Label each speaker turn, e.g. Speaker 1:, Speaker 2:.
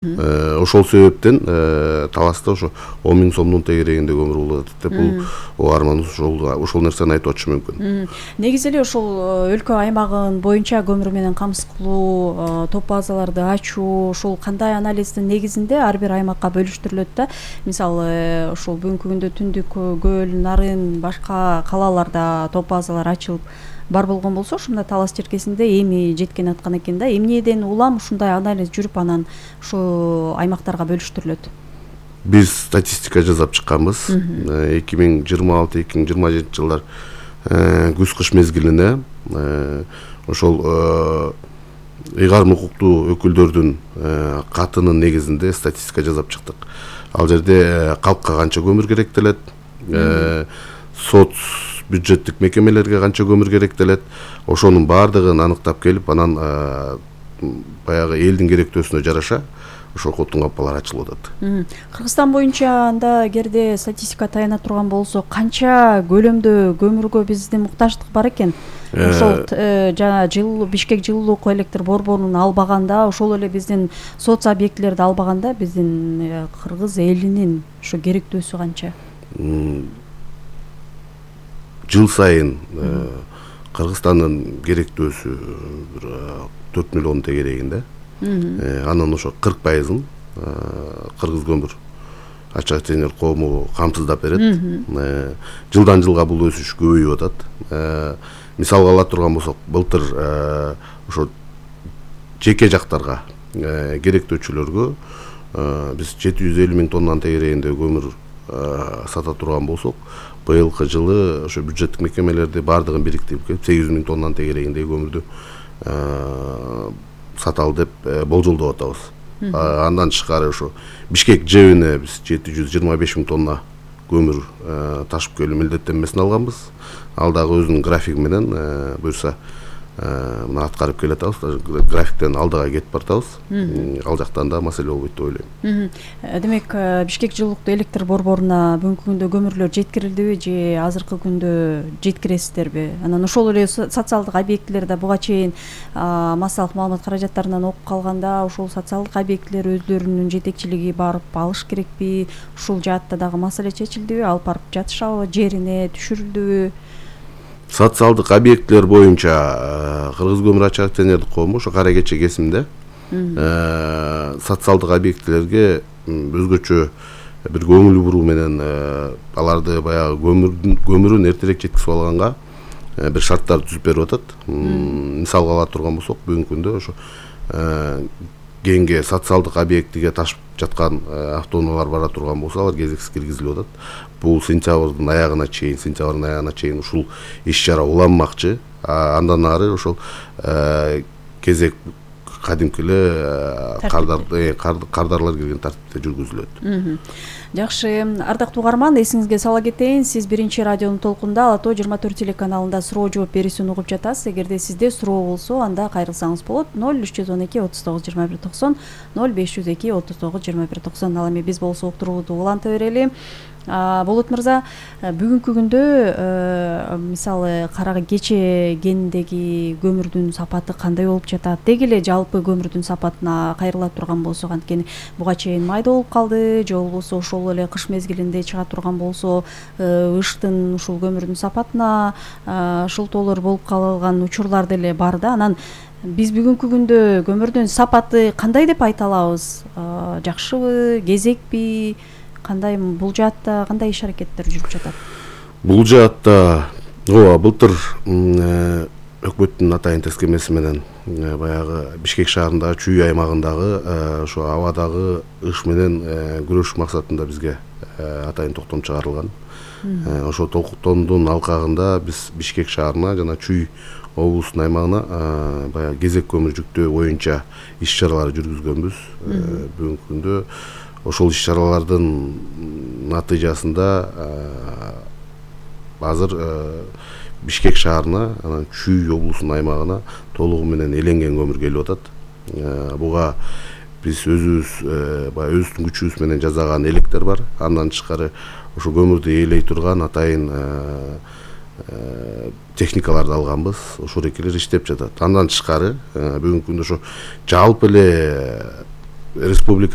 Speaker 1: Ошол себептен таласта ошо 10 000 сомдун тегерегинде көмүр болот деп бул арман ошол нерсени айтып атышы мүмкүн.
Speaker 2: Негизи эле ошол өлкө аймагын боюнча көмүр менен камсыз кылуу, топ базаларды ачуу, ошол кандай анализдин негизинде ар бир аймакка бөлүштүрүлөт да. Мисалы ошол бүгүнкү күндө Түндүк, Көл, Нарын, башка калаларда топ базалар ачылып бар болгон болсо, ушундай талас черкесинде эми жеткен аткан экен да. Эмнеден улам ушундай анализ жүрүп, анан ошо аймактарга бөлүштүрүлөт?
Speaker 1: Биз статистика жасап чыкканбыз. 2026-2027 жылдар күз-кыш мезгилине ошол ыйгарым укуктуу өкүлдөрдүн катынын негизинде статистика жасап чыктык. Ал жерде калкка канча көмүр керектелет, сот бюджеттик мекемелерге канча көмүр керектелет, ошонун баардыгын аныктап келип, анан баягы элдин керектөөсүнө жараша ошол коттун капкалары ачылып атат.
Speaker 2: Кыргызстан боюнча анда эгерде статистика таяна турган болсо, канча көлөмдө көмүргө биздин муктаждык бар экен? Ошол жана Бишкек жылуулук электр борборунун албаганда, ошол эле биздин соц объектилерди албаганда биздин кыргыз элинин ошо керектөөсү канча?
Speaker 1: Жыл сайын Кыргызстандын керектөөсү 4 миллион тегерегинде. Анын ошо 40%-ын кыргыз көмүр ачык акционер коому камсыздап берет. Жылдан жылга бул өсүш көбөйүп атат. Мисалга ала турган болсок, былтыр ошо жеке жактарга керектөөчүлөргө биз 750 000 тоннанын тегерегинде көмүр сата турган болсок, быйылкы жылы ошо бюджеттик мекемелерди баардыгын бириктирип келип 800 000 тоннанын тегерегиндеги көмүрдү саталы деп болжолдоп атабыз. Андан тышкары ошо Бишкек ЖЭБине биз 725 000 тонна көмүр ташып келүү милдеттенмесин алганбыз. Ал дагы өзүнүн графиги менен буюрса мына аткарып келатабыз. Графиктен алдыга кетип баратабыз. Ал жактан да маселе болбойт деп ойлойм.
Speaker 2: Демек, Бишкек жылуулуктуу электр борборуна бүгүнкү күндө көмүрлөр жеткирилдиби же азыркы күндө жеткиресиздерби? Анан ошол эле социалдык объектилерде буга чейин массалык маалымат каражаттарынан окуп калганда, ошол социалдык объектилер өздөрүнүн жетекчилиги барып алыш керекпи? Ушул жаатта дагы маселе чечилдиби? Алып барып жатышабы? Жерине түшүрүлдүбү?
Speaker 1: Социалдык объектилер боюнча Кыргыз көмүр ачык акционердик коому ошо кара кече кесимде социалдык объектилерге өзгөчө бир көңүл буруу менен аларды баягы көмүрүн эртерээк жеткизип алганга бир шарттар түзүп берип атат. Мисалга ала турган болсок, бүгүнкү күндө ошо кеңге социалдык объектиге ташып жаткан автоунаалар бара турган болсо, алар кезексиз киргизилип атат. Бул сентябрдын аягына чейин ушул иш-чара уланмакчы. Андан ары ошол кезек кадимки эле кардарлар келген тартипте жүргүзүлөт.
Speaker 2: Жакшы, ардактуу угарман, эсиңизге сала кетейин, сиз биринчи радионун толкунда Ала Тоо 24 телеканалында суроо жооп берүүсүн угуп жатасыз. Эгерде сизде суроо болсо, анда кайрылсаңыз болот. 0312 39 21 90, 0502 39 21 90. Ал эми биз болсо уктуруубузду уланта берели. Болот мырза, бүгүнкү күндө мисалы кара кече кеніндеги көмүрдүн сапаты кандай болуп жатат? Деги эле жалпы көмүрдүн сапатына кайрыла турган болсок, анткени буга чейин майда болуп калды, же болбосо ошол эле кыш мезгилинде чыга турган болсо, ыштын ушул көмүрдүн сапатына шылтоолор болуп калган учурлар деле бар да. Анан биз бүгүнкү күндө көмүрдүн сапаты кандай деп айта алабыз? Жакшыбы, кезекпи? Кандай бул жаатта кандай иш аракеттер жүрүп жатат?
Speaker 1: Бул жаатта былтыр өкмөттүн атайын тескемеси менен баягы Бишкек шаарындагы чүй аймагындагы ошо абадагы ыш менен күрөшүш максатында бизге атайын токтом чыгарылган. Ошо токтомдун алкагында биз Бишкек шаарына жана Чүй облусунун аймагына баягы кезек көмүр жүктөө боюнча иш-чаралар жүргүзгөнбүз. Бүгүнкү күндө ошол иш-чаралардын натыйжасында азыр Бишкек шаарына, анан Чүй облусунун аймагына толугу менен эленген көмүр келип атат. Буга биз өзүбүздүн күчүбүз менен жасаган электер бар. Андан тышкары ошо көмүрдү ээлей турган атайын техникаларды алганбыз. Ошол экелер иштеп жатат. Андан тышкары бүгүнкү күндө ошо жалпы эле республика